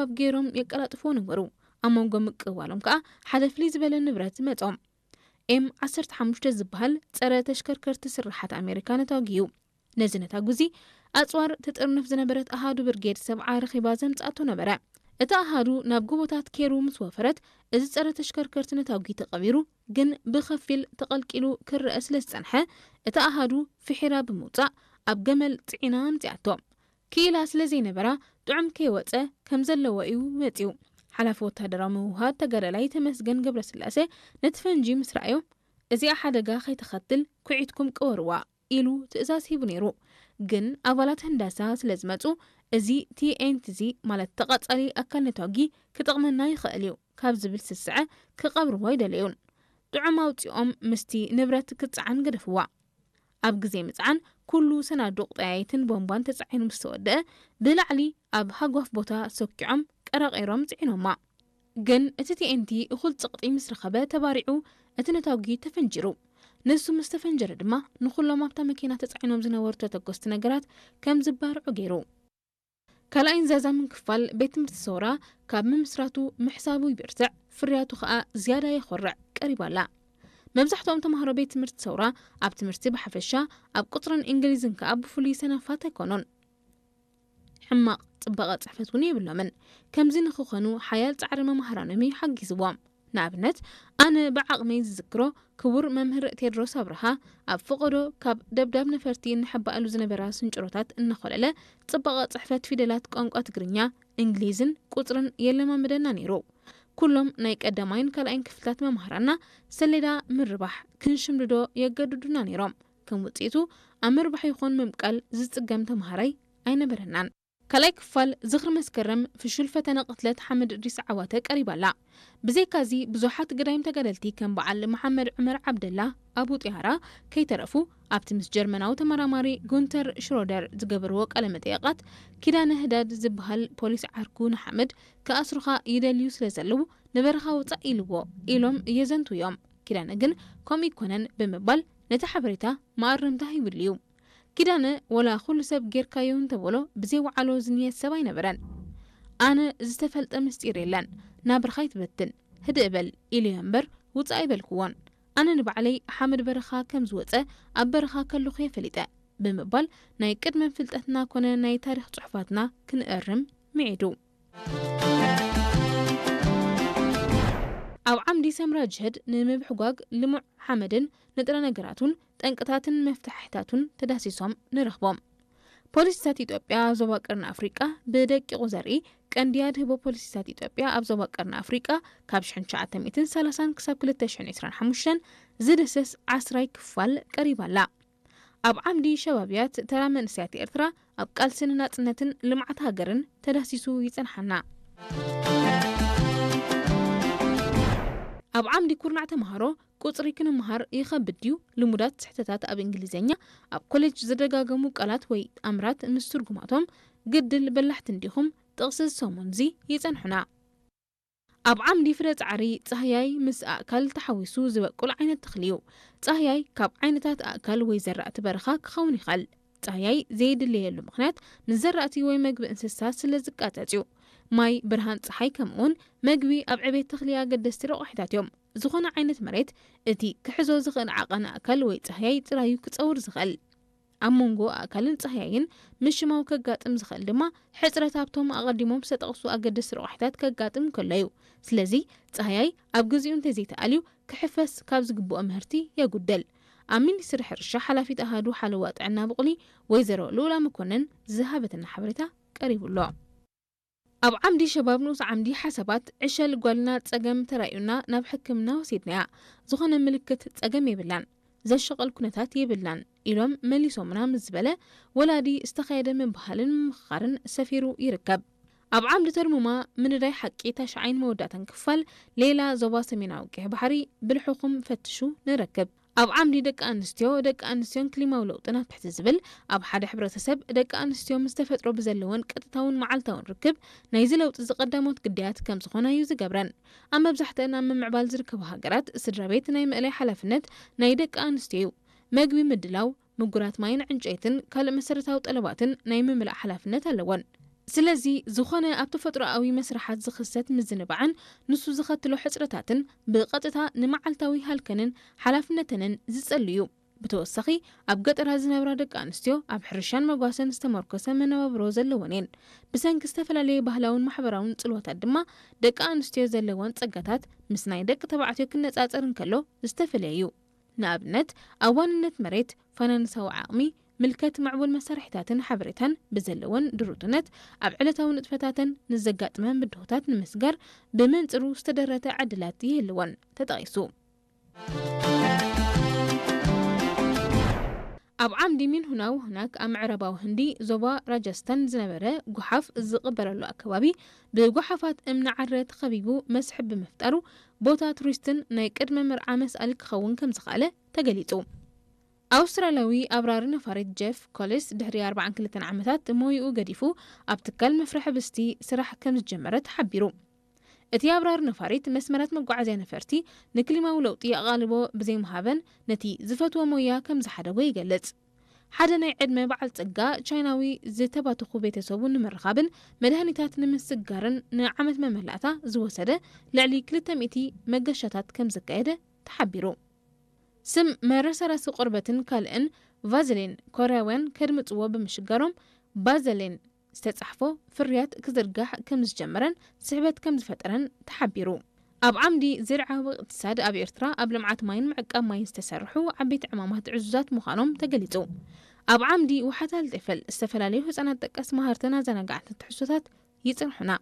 ኣብ ገይሮም የቀላጥፍዎ ነበሩ። ኣብ መንጎ ምቅባሎም ከኣ ሓደ ፍልይ ዝበለ ንብረት መጾም። ኤም ዓሰርተ ሓሙሽተ ዝበሃል ጸረ ተሽከርከርቲ ስርሓት ኣሜሪካ ነታጒ እዩ። ነዚ ነታጒ እዚ ኣጽዋር ትጥርንፍ ዝነበረት ኣሃዱ ብርጌድ ሰብዓ ረኺባ ዘምጽኣቶ ነበረ። እቲ ኣሃዱ ናብ ጎቦታት ኬሩ ምስ ወፈረት፣ እዚ ጸረ ተሽከርከርቲ ነታጒ ተቐቢሩ፣ ግን ብኸፊል ተቐልቂሉ ክረአ ስለ ዝጸንሐ፣ እቲ ኣሃዱ ፍሒራ ብምውጻእ ኣብ ገመል ጽዒና ኣምጺኣቶ። ክኢላ ስለ ዘይነበራ፣ ጥዑም ከይወጸ ከም ዘለዎ እዩ መጺኡ። ሓላፊ ወታደራዊ ምውህሃድ ተጋዳላይ ተመስገን ገብረስላሴ ነቲ ፈንጂ ምስ ረኣዮ፣ "እዚኣ ሓደጋ ከይተኸትል ኩዒትኩም ቅበርዋ" ኢሉ ትእዛዝ ሂቡ ነይሩ። ግን ኣባላት ህንዳሳ ስለ ዝመጹ፣ "እዚ ቲ ኤን ቲ እዚ፣ ማለት ተቓጻሊ ኣካል ነታጒ፣ ክጠቕመና ይኽእል እዩ" ካብ ዝብል ስስዐ ክቐብርዎ ኣይደለዩን። ጥዑም ኣውጺኦም ምስቲ ንብረት ክትጸዓን ገደፍዋ። ኣብ ግዜ ምጽዓን፣ ኩሉ ሰናዱቕ ጠያይትን ቦምባን ተጻዒኑ ምስ ተወደአ፣ ብላዕሊ ኣብ ሃጓፍ ቦታ ሰኪዖም ቀራቒሮም ጽዒኖማ። ግን እቲ ቲ ኤን ቲ እኹል ጽቕጢ ምስ ረኸበ ተባሪዑ፣ እቲ ነታጒ ተፈንጂሩ። ንሱ ምስ ተፈንጀረ ድማ፣ ንኹሎም ኣብታ መኪና ተጻዒኖም ዝነበሩ ተተኮስቲ ነገራት ከም ዝባርዑ ገይሩ። ካልኣይን ዛዛምን ክፋል ቤት ትምህርቲ ሰውራ ካብ ምምስራቱ ምሕሳቡ ይብርትዕ፣ ፍርያቱ ኸኣ ዝያዳ የኾርዕ ቀሪባ ኣላ። መብዛሕትኦም ተምሃሮ ቤት ትምህርቲ ሰውራ ኣብ ትምህርቲ ብሓፈሻ፣ ኣብ ቁጽርን እንግሊዝን ከኣ ብፍሉይ ሰነፋት ኣይኮኑን። ሕማቕ ጽባቐ ጽሕፈት እውን የብሎምን። ከምዚ ንኽኾኑ ሓያል ጻዕሪ መማህራኖም እዩ ሓጊዝዎም። ንኣብነት፣ ኣነ ብዓቕመይ ዝዝክሮ ክቡር መምህር ቴድሮስ ኣብርሃ ኣብ ፈቐዶ ካብ ደብዳብ ነፈርቲ እንሕባኣሉ ዝነበራ ስንጭሮታት እናኾለለ፣ ጽባቐ ጽሕፈት ፊደላት ቋንቋ ትግርኛ፣ እንግሊዝን ቁጽርን የለማምደና ነይሩ። ኩሎም ናይ ቀዳማይን ካልኣይን ክፍልታት መማህራና ሰሌዳ ምርባሕ ክንሽምድዶ የገድዱና ነይሮም። ከም ውጽኢቱ፣ ኣብ ምርባሕ ይኹን ምምቃል ዝጽገም ተምሃራይ ኣይነበረናን። ካልኣይ ክፋል ዝኽሪ መስከረም ፍሹል ፈተነ ቅትለት ሓመድ እድሪስ ዓዋተ ቀሪባ ኣላ። ብዘይካዚ፣ ብዙሓት ገዳይም ተጋደልቲ ከም በዓል መሓመድ ዑመር ዓብደላ፣ ኣቡ ጥያራ፣ ከይተረፉ ኣብቲ ምስ ጀርመናዊ ተመራማሪ ጉንተር ሽሮደር ዝገበርዎ ቃለ መጠየቓት፣ ኪዳነ ህዳድ ዝበሃል ፖሊስ ዓርኩ ንሓመድ ክኣስሩኻ ይደልዩ ስለ ዘለዉ ንበረኻ ውጻእ ኢልዎ ኢሎም የዘንቱ እዮም። ኪዳነ ግን ከምኡ ይኮነን ብምባል ነቲ ሓበሬታ መኣረምታ ሂብሉ እዩ። ኪዳነ ወላ ኩሉ ሰብ ጌርካዮ እንተበሎ ብዘይ ወዓሎ ዝንየት ሰብ ኣይነበረን። ኣነ ዝተፈልጠ ምስጢር የለን፣ ናብርኻ ይትበትን፣ ህድእ በል ኢለዮ እምበር ውጻእ ኣይበልክዎን። ኣነ ንባዕለይ ሓመድ በረኻ ከም ዝወጸ ኣብ በረኻ ከለኹ እየ ፈሊጠ ብምባል ናይ ቅድመ ፍልጠትና ኮነ ናይ ታሪኽ ጽሑፋትና ክንእርም ምዒዱ። ኣብ ዓምዲ ሰምራ ጅህድ ንምብሕጓግ ልሙዕ ሓመድን ንጥረ ነገራቱን ጠንቅታትን መፍትሕታቱን ተዳሲሶም ንረኽቦም። ፖሊሲታት ኢትዮጵያ ኣብ ዞባ ቀርኒ ኣፍሪቃ ብደቂቑ ዘርኢ ቀንዲ ኣድህቦ ፖሊሲታት ኢትዮጵያ ኣብ ዞባ ቀርኒ ኣፍሪቃ ካብ ሽሕን ትሽዓተ ሚእትን ሰላሳን ክሳብ ክልተ ሽሕን ዕስራን ሓሙሽተን ዝድህስስ ዓስራይ ክፋል ቀሪባ ኣላ። ኣብ ዓምዲ ሸባብያት ተራ መንእሰያት ኤርትራ ኣብ ቃልሲ ንናጽነትን ልምዓት ሃገርን ተዳሲሱ ይጸንሓና። ኣብ ዓምዲ ኩርናዕ ተምሃሮ ቁጽሪ ክንምሃር ይኸብድ ድዩ? ልሙዳት ስሕተታት ኣብ እንግሊዝኛ፣ ኣብ ኮሌጅ ዝደጋገሙ ቃላት ወይ ኣምራት ምስ ትርጉማቶም ግድል በላሕቲ እንዲኹም ጥቕሲ ዝሰሙንዚ ይጸንሑና። ኣብ ዓምዲ ፍረ ጻዕሪ ጻህያይ ምስ ኣእካል ተሓዊሱ ዝበቁል ዓይነት ተኽሊ እዩ። ጻህያይ ካብ ዓይነታት ኣእካል ወይ ዘራእቲ በረኻ ክኸውን ይኽእል። ጻህያይ ዘይድለየሉ ምኽንያት ምስ ዘራእቲ ወይ መግቢ እንስሳ ስለ ዝቃጸጽ እዩ። ማይ፣ ብርሃን ጸሓይ ከምኡውን መግቢ ኣብ ዕቤት ተኽሊ ኣገደስቲ ረቋሒታት እዮም። ዝኾነ ዓይነት መሬት እቲ ክሕዞ ዝኽእል ዓቐን ኣእካል ወይ ጻህያይ ጥራዩ ክጸውር ዝኽእል። ኣብ መንጎ ኣእካልን ጻህያይን ምሽማው ከጋጥም ዝኽእል ድማ ሕጽረት ኣብቶም ኣቐዲሞም ዝተጠቕሱ ኣገደስቲ ረቋሒታት ከጋጥም ከሎ እዩ። ስለዚ ጻህያይ ኣብ ግዚኡ እንተዘይተኣልዩ ክሕፈስ ካብ ዝግብኦ ምህርቲ የጉድል። ኣብ ሚኒስትሪ ሕርሻ ሓላፊት ኣሃዱ ሓለዋ ጥዕና ብቑሊ ወይዘሮ ልኡላ መኮነን ዝሃበትና ሓበሬታ ቀሪቡ ኣሎ። ኣብ ዓምዲ ሸባብ ንኡስ ዓምዲ ሓሳባት ዕሸል ጓልና ጸገም ተራእዩና ናብ ሕክምና ወሲድናያ። ዝኾነ ምልክት ጸገም የብላን፣ ዘሸቐል ኩነታት የብልናን ኢሎም መሊሶምና ምስ ዝበለ ወላዲ ዝተኻየደ ምብሃልን ምምኽኻርን ሰፊሩ ይርከብ። ኣብ ዓምዲ ተርሙማ ምንዳይ ሓቂ ታሽዓይን መወዳእታን ክፋል ሌላ ዞባ ሰሜናዊ ቀይሕ ባሕሪ ብልሑኹም ፈትሹ ንረክብ። ኣብ ዓምዲ ደቂ ኣንስትዮ፣ ደቂ ኣንስትዮን ክሊማዊ ለውጥን ኣብ ትሕቲ ዝብል ኣብ ሓደ ሕብረተሰብ ደቂ ኣንስትዮ ምስ ተፈጥሮ ብዘለወን ቀጥታውን መዓልታውን ርክብ ናይዚ ለውጢ እዚ ቀዳሞት ግዳያት ከም ዝኾና እዩ ዝገብረን። ኣብ መብዛሕትአን ኣብ ምምዕባል ዝርከባ ሃገራት ስድራ ቤት ናይ ምእላይ ሓላፍነት ናይ ደቂ ኣንስትዮ እዩ። መግቢ ምድላው፣ ምጉራት ማይን ዕንጨይትን ካልእ መሰረታዊ ጠለባትን ናይ ምምላእ ሓላፍነት ኣለወን። ስለዚ ዝኾነ ኣብ ተፈጥሮኣዊ መስርሓት ዝኽሰት ምዝንባዕን ንሱ ዘኸትሎ ሕጽረታትን ብቐጥታ ንመዓልታዊ ሃልከንን ሓላፍነተንን ዝጸሉ እዩ። ብተወሳኺ ኣብ ገጠራት ዝነብራ ደቂ ኣንስትዮ ኣብ ሕርሻን መጓሰን ዝተመርኮሰ መነባብሮ ዘለወን እየን። ብሰንኪ ዝተፈላለየ ባህላውን ማሕበራውን ጽልዋታት ድማ ደቂ ኣንስትዮ ዘለወን ጸጋታት ምስ ናይ ደቂ ተባዕትዮ ክነጻጸር እንከሎ ዝተፈላለየ እዩ። ንኣብነት ኣብ ዋንነት መሬት፣ ፋይናንሳዊ ዓቕሚ፣ ምልከት ምዕቡል መሳርሒታትን ሓበሬታን ብዘለወን ድሩትነት ኣብ ዕለታዊ ንጥፈታተን ንዘጋጥመን ብድሆታት ንምስጋር ብመንጽሩ ዝተደረተ ዕድላት ይህልወን ተጠቒሱ። ኣብ ዓምዲ ሚንሁናው ሁናክ ኣብ ምዕራባዊ ህንዲ ዞባ ራጃስታን ዝነበረ ጉሓፍ ዝቕበረሉ ኣከባቢ ብጉሓፋት እምኒ ዓረ ተኸቢቡ መስሕብ ብምፍጣሩ ቦታ ቱሪስትን ናይ ቅድመ መርዓ መስኣል ክኸውን ከም ዝኸኣለ ተገሊጹ። ኣውስትራልያዊ ኣብራሪ ነፋሪት ጀፍ ኮሊስ ድሕሪ ኣርባዓን ክልተን ዓመታት ሞይኡ ገዲፉ ኣብ ትካል መፍርሒ ብስቲ ስራሕ ከም ዝጀመረ ተሓቢሩ። እቲ ኣብራሪ ነፋሪት መስመራት መጓዓዝያ ነፈርቲ ንክሊማዊ ለውጢ ኣቓልቦ ብዘይምሃበን ነቲ ዝፈትዎ ሞያ ከም ዝሓደጎ ይገልጽ። ሓደ ናይ ዕድመ በዓል ጸጋ ቻይናዊ ዝተባተኹ ቤተሰቡ ንምርኻብን መድሃኒታት ንምስጋርን ንዓመት መመላእታ ዝወሰደ ልዕሊ ክልተ ሚእቲ መገሻታት ከም ዘካየደ ተሓቢሩ። ስም መረሰረሲ ቆርበትን ካልእን ቫዘሊን ኮርያውያን ከድምጽዎ ብምሽጋሮም ባዘሊን ዝተጻሕፎ ፍርያት ክዝርጋሕ ከም ዝጀመረን ስሕበት ከም ዝፈጠረን ተሓቢሩ። ኣብ ዓምዲ ዝርዓዊ እቅትሳድ ኣብ ኤርትራ ኣብ ልምዓት ማይን ምዕቃብ ማይን ዝተሰርሑ ዓበይቲ ዕማማት ዕዙዛት ምዃኖም ተገሊጹ። ኣብ ዓምዲ ውሓት ኣልጤፈል ዝተፈላለዩ ህጻናት ጠቀስ መሃርትን ኣዘናጋዕትን ትሕዝቶታት ይጽንሑና።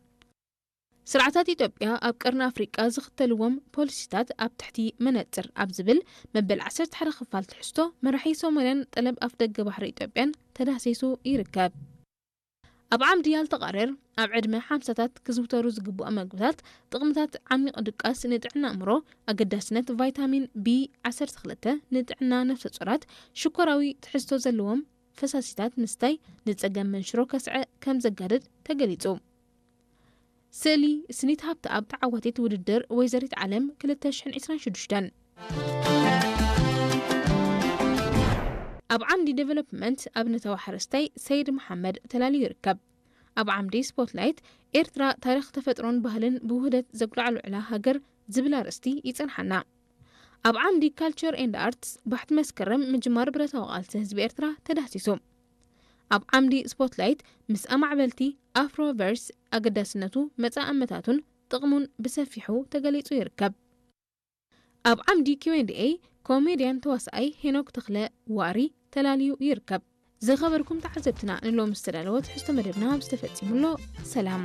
ስርዓታት ኢትዮጵያ ኣብ ቀርኒ ኣፍሪቃ ዝኽተልዎም ፖሊሲታት ኣብ ትሕቲ መነጽር ኣብ ዝብል መበል ዓሰርተ ሓደ ክፋል ትሕዝቶ መራሒ ሶማልያን ጠለብ ኣፍደገ ባሕሪ ኢትዮጵያን ተዳህሲሱ ይርከብ። ኣብ ዓምዲ ያልተቃረር ኣብ ዕድመ ሓምሳታት ክዝውተሩ ዝግብኦም መግብታት ጥቕምታት ዓሚቕ ድቃስ ንጥዕና ኣእምሮ፣ ኣገዳስነት ቫይታሚን ቢ ዓሰርተ ክልተ ንጥዕና ነፍሰ ጾራት፣ ሽኮራዊ ትሕዝቶ ዘለዎም ፈሳሲታት ምስታይ ንጸገም መንሽሮ ከስዐ ከም ዘጋድድ ተገሊጹ። ስእሊ ስኒት ሃብተኣብ ተዓዋቲት ውድድር ወይዘሪት ዓለም ክልተ ሽሕን ዕስራን ሽዱሽተን። ኣብ ዓምዲ ዴቨሎፕመንት ኣብነታዊ ሓረስታይ ሰይድ መሓመድ ተላልዩ ይርከብ። ኣብ ዓምዲ ስፖትላይት ኤርትራ ታሪኽ ተፈጥሮን ባህልን ብውህደት ዘጉላዕሉዕላ ሃገር ዝብል ኣርእስቲ ይጽንሓና። ኣብ ዓምዲ ካልቸር ኤንድ ኣርትስ ባሕቲ መስከረም ምጅማር ብረታዊ ቃልሲ ህዝቢ ኤርትራ ተዳህሲሱ። ኣብ ዓምዲ ስፖትላይት ምስ ኣማዕበልቲ ኣፍሮቨርስ ኣገዳስነቱ፣ መጻእመታቱን ጥቕሙን ብሰፊሑ ተገሊጹ ይርከብ። ኣብ ዓምዲ ኪው ኤንድ ኤ ኮሜድያን ተዋሳኣይ ሄኖክ ተኽለ ዋሪ ተላልዩ ይርከብ። ዝኸበርኩም ተዓዘብትና ንሎሚ ዝተዳለወ ትሕዝቶ መደብና ኣብዚ ተፈጺሙ ኣሎ። ሰላም።